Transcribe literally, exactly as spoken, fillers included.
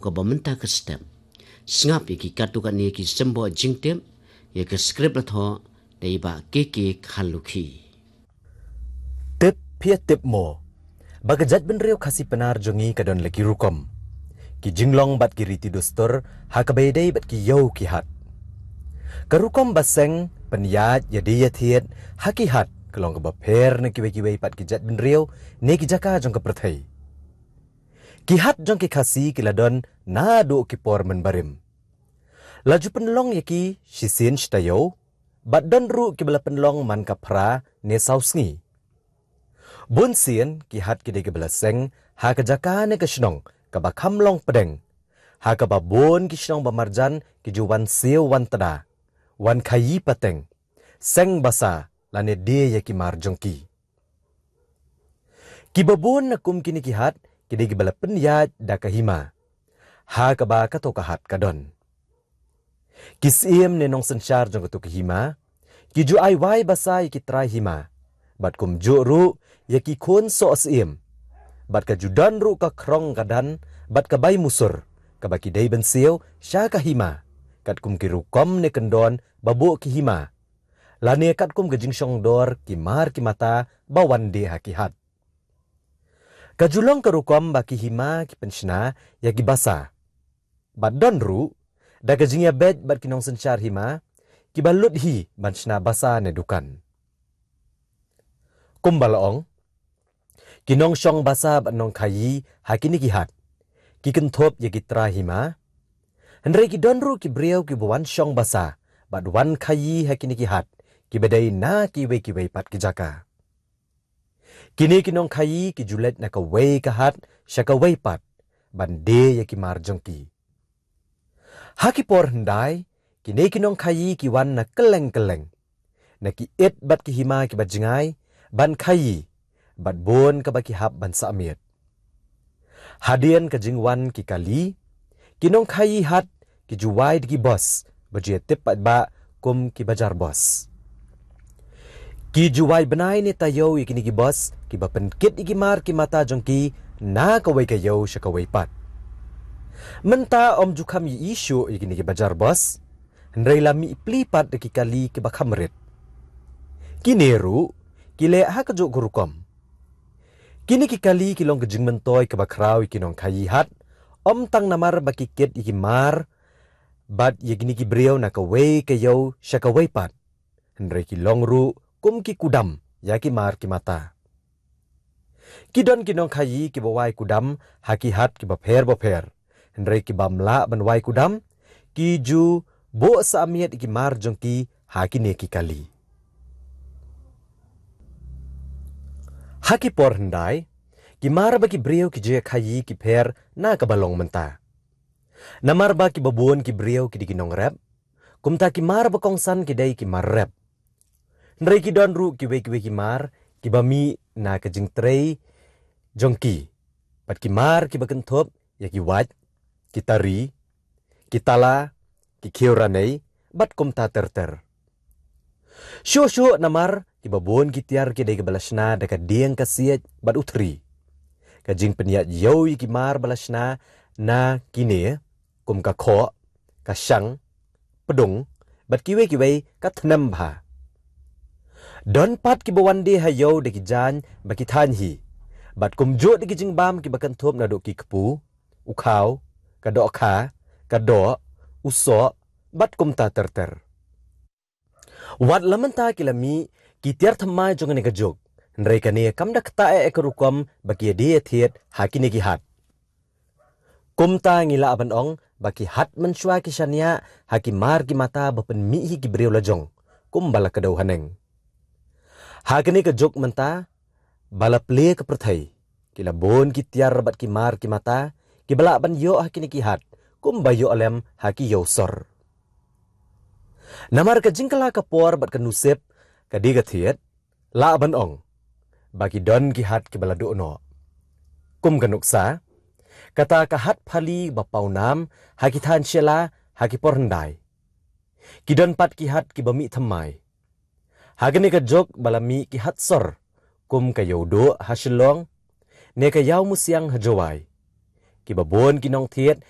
kaba mynta ka step. Sngap ïa ki katto katne ki symbol jingtip, ïa ka script la thoh da i Bah K K Kharlukhi. Tip phi tip mo ba ka jaitbynriew Khasi Pnar jong ngi ka don la ki rukom, ki jinglong bad ki riti dustur ha kaba ïadei bad ki ïew ki hat. Ka rukom ba seng, pynïaid, ïadie ïathied ha ki hat ka long kaba pher na kiwei kiwei pat ki jaitbynriew ne ki jaka jong ka pyrthei. Ki hat jong ki Khasi ki la don naduh ki por mynbarim. La ju pynlong ïa ki shisien shi taïew, bad don ruh kiba la pynlong man ka phra ne saw sngi. Bun sien ki hat ki dei kiba la seng ha ka jaka ne ka shnong kaba kham long pdeng, ha kaba bun ki shnong ba marjan ki ju wan siew wan tda, wan khaïi pateng, seng basa lane die ïa ki mar jong ki. Kiba bun na kum kine ki hat ki dei kiba la pynïaid da ka hima, ha kaba kato ka hat ka don. Ki syiem ne nongsynshar jong kato ka hima ki ju ai wai basa ïa ki trai hima, bad kumjuh ruh ïa ki khun soh syiem. Bad ka ju don ruh ka khrong ka dan bad ka bai musur, kaba ki dei ban siew sha ka hima, katkum ki rukom ne kyndon ba buh ki hima, lane katkum ka jingshong dor ki mar ki mata ba wan die ha ki hat. Ka ju long ka rukom ba ki hima ki pynshna ïa ki basa. Bad don ruh da ka jingïabeit bad ki nongsynshar hima kiba lut hi ban shna basa ne dukan. Kumba la ong, ki nongshong basa bad nongkhaïi ha kine ki hat ki kynthup ïa ki trai hima. Hynrei ki don ruh ki briew kiba wan shong basa bad wan khaïi ha kine ki hat kiba dei na kiwei kiwei pat ki jaka. Kine ki nongkhaïi ki ju leit na kawei ka hat sha kawei pat ban die ïa ki mar jong ki. Ha ki por hyndai, kine ki nongkhaïi ki wan na kylleng kylleng, na ki it bad ki hima kiba jngai, ban khaïi bad bun kaba ki hap ban sah miet. Hadien ka jingwan ki kali, ki nongkhaïi hat ki ju wai da ki bos ba ju ïatip paidbah kum ki bajar bos. Ki ju wai bnai ne taïew ïa kine ki bos kiba pynkit ïa ki mar ki mata jong ki na kawei ka ïew sha kawei pat. Mynta ym ju kham ïohi shuh ïa kine ki bajar bos, hynrei la mih pli pat da ki kali kiba kham rit. Kine ruh ki leh ha kajuh ka rukom. Kine ki kali ki long ka jingmyntoi kaba khraw ïa ki nongkhaïi hat, ym tang namar ba ki kit ïa ki mar bad ïa kine ki briew na kawei ka ïew sha kawei pat, hynrei ki long ruh kum ki kudam ïa ki mar ki mata. Ki don ki nongkhaïi kiba wai kudam ha ki hat kiba pher bapher, hynrei ki bym lah ban wai kudam, ki ju buh sah miet ïa ki mar jong ki ha kine ki kali. Ha ki por hyndai, ki mar ba ki briew ki ju ïakhaïi ki pher na kaba long mynta. Namar ba kiba bun ki briew ki dei ki nongrep, kumta ki mar ba kongsan ki dei ki mar rep. Hynrei ki don ruh kiwei kiwei ki mar kiba mih na ka jingtrei jong ki, bad ki mar kiba kynthup ïa ki wait, ki tari, ki tala, ki khiew ranei, bad kumta ter ter. Shuh shuh namar kiba bun ki tiar ki dei kiba la shna da ka dieng ka siej bad u thri. Ka jingpynïaid ïew ïa ki mar ba la shna na kine kum ka khoh, ka shang, pdung, bad kiwei kiwei ka thnem bha. Don pat kiba wan die ha ïew da ki jaiñ ba ki thaiñ hi, bad kumjuh da ki jingbam kiba kynthup naduh ki kpu, u khaw, ka dohkha, ka doh, u soh, bad kumta ter ter. Wat la mynta ki la mih ki tiar thymmai jong kane ka juk, hynrei kane kam da ktah eh ka rukom ba ki ïadie ïathied ha kine ki hat. Kumta ngi lah ban ong ba ki hat mynshuwa ki shaniah ha ki mar ki mata ba pynmih hi ki briew lajong, kumba la kdew haneng. Ha kane ka juk mynta ba la plie ka pyrthei, ki la bun ki tiar bad ki mar ki mata kiba lah ban ïoh ha kine ki hat, kumba ïoh lem ha ki ïew sor. Namar ka jingkylla ka por bad ka nusip ka die ka thied, lah ban ong ba ki don ki hat kiba la duh noh. Kum ka nuksa, kata ka hat Phali ba paw nam ha ki thaiñ Shella ha ki por hyndai. Ki don pat ki hat kiba mih thymmai. Ha kane ka juk ba la mih ki hat sor, kum ka Ïewduh ha Shillong, ne ka Ïawmusiang ha Jowai, kiba bun ki nongthied